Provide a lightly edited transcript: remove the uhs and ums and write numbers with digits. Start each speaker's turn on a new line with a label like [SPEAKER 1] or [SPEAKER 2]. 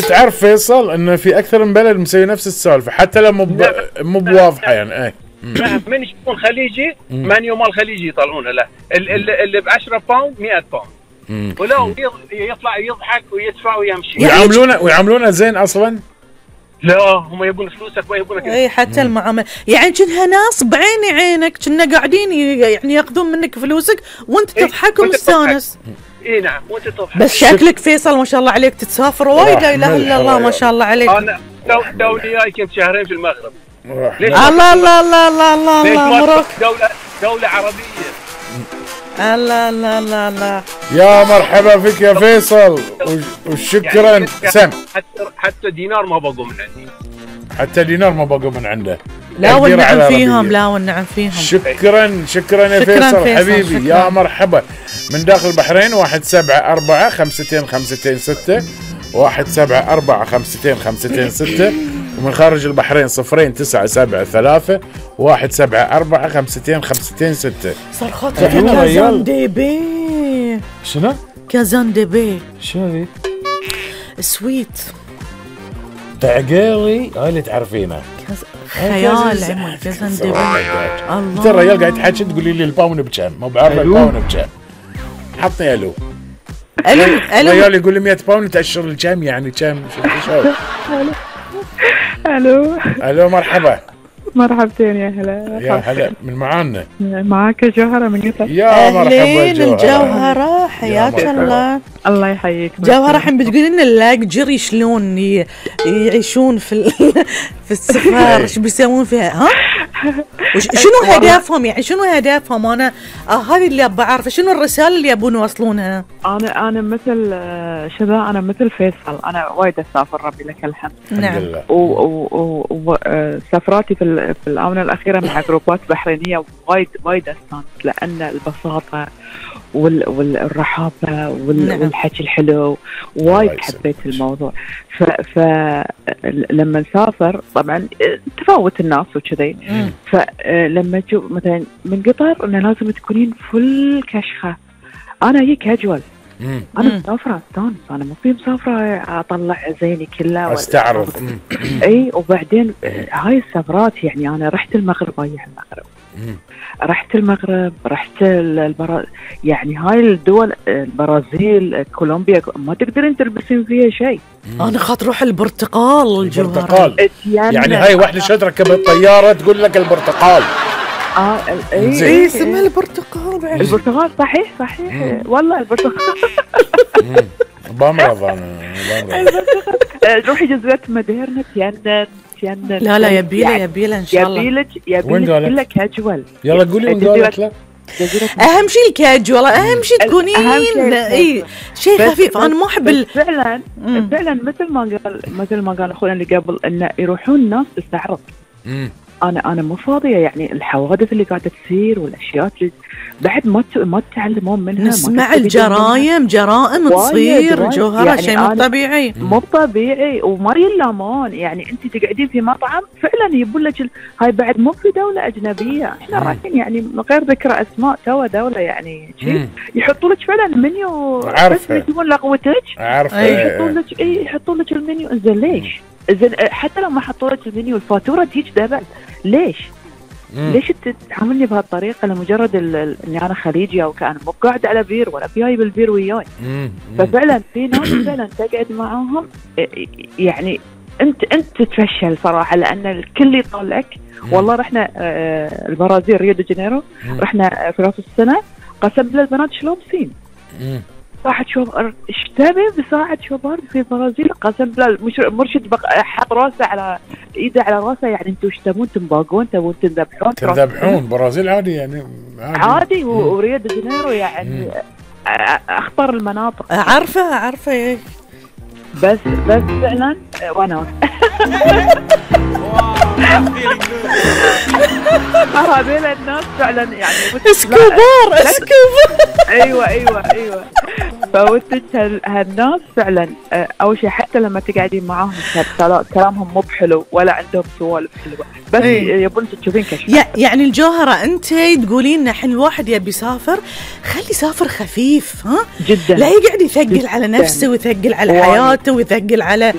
[SPEAKER 1] تعرف فيصل انه في اكثر من بلد مسوي نفس السالفه حتى لو مو بواضحه يعني.
[SPEAKER 2] من يكون خليجي مانيو مال خليجي يطلعونه، لا اللي ب 10 باوند 100 باوند ولو يطلع يضحك ويدفع ويمشي.
[SPEAKER 1] ويعاملونه زين اصلا.
[SPEAKER 2] لا هم يبون فلوسك ما يبونك.
[SPEAKER 3] اي حتى المعامله يعني كأنها ناس بعين عينك، كنا قاعدين يعني ياخذون منك فلوسك وانت تضحك ومستانس.
[SPEAKER 2] اي نعم وانت تضحك.
[SPEAKER 3] بس شكلك فيصل ما شاء الله عليك تتسافر وايد، لا اله الا الله ما شاء الله عليك.
[SPEAKER 2] انا دولي جاي كنت شهرين في المغرب.
[SPEAKER 3] الله الله الله الله الله مبروك.
[SPEAKER 2] دولة عربية.
[SPEAKER 3] الله الله الله الله.
[SPEAKER 1] يا مرحبا فيك يا فيصل وشكرا.
[SPEAKER 2] يعني
[SPEAKER 1] سم
[SPEAKER 2] حتى دينار ما بقوا من عندي.
[SPEAKER 1] حتى دينار ما بقوا من عنده.
[SPEAKER 3] لا والنعم فيهم، لا والنعم فيهم.
[SPEAKER 1] شكرا يا فيصل حبيبي. شكراً. يا مرحبا من داخل البحرين 174 52 52 6 174 52 52 6 ومن خارج البحرين 0973 174 52 52 6.
[SPEAKER 3] صرختك كازان دي بي.
[SPEAKER 1] شنو؟
[SPEAKER 3] كازان دي بي.
[SPEAKER 1] شنو ذي؟
[SPEAKER 3] سويت
[SPEAKER 1] تعقيلي هاي اللي تعرفينه.
[SPEAKER 3] خيال عمر كازان دي بي. الله
[SPEAKER 1] انت الرجال قاعد تحكي تقولي لي الباون بكم؟ ما بعرف الباون بكم. حطني الو. الرجال يقول لي 100 باوند تأشر الكم يعني كم؟ الو مرحبا.
[SPEAKER 4] مرحبتين يا هلا.
[SPEAKER 1] يا هلا من معانا.
[SPEAKER 4] معاك جوهرة من قطر.
[SPEAKER 1] يا مرحبا
[SPEAKER 3] الجوهرة حياك الله.
[SPEAKER 4] الله يحييك.
[SPEAKER 3] جوهرة الحين بتقولي لنا اللاجري شلون يعيشون في السفر، ايش بيسوون فيها؟ ها؟ شنو هدفهم يعني؟ شنو هدفهم؟ انا هذه اللي ابغى اعرفه، شنو الرسالة اللي يبون يوصلونها؟
[SPEAKER 4] انا مثل شذا، انا مثل فيصل، انا وايد اسافر ربي لك الحمد.
[SPEAKER 3] نعم.
[SPEAKER 4] وسفراتي في الآونة الأخيرة مع جروبات بحرينية وايد أستانس، لأن البساطة والرحابة والحكي الحلو وايد حبيت الموضوع. فلما نسافر طبعا تفاوت الناس وكذي، فلما تشوف مثلا من قطر انه لازم تكونين فل كشخة. انا هيك كاجوال. انا مسافرة استانس، انا مو في مسافرة اطلع زيني كله
[SPEAKER 1] استعرض.
[SPEAKER 4] اي وبعدين هاي السفرات يعني انا رحت المغرب، رحت المغرب، رحت يعني هاي الدول البرازيل، كولومبيا، ما تقدرين تلبسين فيها شيء.
[SPEAKER 3] انا خاطر اروح البرتقال.
[SPEAKER 1] البرتقال يعني هاي واحدة شد ركبت طيارة تقول لك البرتقال.
[SPEAKER 3] اي اسمها البرتقال.
[SPEAKER 4] البرتقال صحيح والله البرتقال.
[SPEAKER 1] بمرض انا
[SPEAKER 4] روحي جزيرة ماديرنا تيانا.
[SPEAKER 3] لا يبيله ان شاء الله.
[SPEAKER 4] يبيلك كلها كاجوال.
[SPEAKER 1] يلا قولي وين قالت لا.
[SPEAKER 3] اهم شيء الكاجوال، اهم شيء تكونين اي شيء خفيف. انا ما احب
[SPEAKER 4] فعلا مثل ما قال اخونا اللي قبل انه يروحون الناس تستعرض. انا مو فاضيه يعني الحوادث اللي قاعده تصير والاشياء اللي بعد ما تتعلمون منها.
[SPEAKER 3] نسمع الجرائم تصير جوهرة يعني شيء مو طبيعي
[SPEAKER 4] وما يلامون. يعني انت تقعدين في مطعم فعلا يبون لك هاي بعد مو في دوله اجنبيه، احنا رايحين يعني من غير ذكر اسماء توا دوله يعني يحطوا لك فعلا المنيو بس يجيبون لقوتك. يحطوا لك المنيو. انزين ليش؟ إذن حتى لو ما حطوا لك المنيو الفاتورة تيجي دبل. ليش تتعاملني بهالطريقة لمجرد اني انا خليجي او كأنا مو قاعد على بير ولا جايب البير وياي؟ ففعلا في ناس فعلا تقعد معاهم يعني انت تتفشل صراحة، لان الكل يطلعك. والله رحنا البرازيل ريو دي جانيرو، رحنا في راس السنة، قسم للبنات شلون بسين ساعة شوبار. اشتبه بساعة شوبار في البرازيل، قسم بالله مرشد حط راسه على ايده على راسه. يعني انتوا ايش تبون تنباقون؟ تبون تذبحون؟
[SPEAKER 1] برازيل عادي يعني
[SPEAKER 4] عادي. وريو دي جانيرو يعني اخطر المناطق.
[SPEAKER 3] عارفة
[SPEAKER 4] بس فعلا وانا هذول الناس فعلا يعني
[SPEAKER 3] اسكوبار.
[SPEAKER 4] ايوه فودك هالناس فعلا اول شيء حتى لما تقعدين معاهم كلامهم مو بحلو ولا عندهم سوالف حلوه، بس يبون تشوفين كشف.
[SPEAKER 3] يعني الجوهره انت تقولين لنا الحين الواحد يبي يسافر خلي يسافر خفيف، ها
[SPEAKER 4] جدا،
[SPEAKER 3] لا يقعد يثقل على نفسه ويثقل على حياته ويثقل على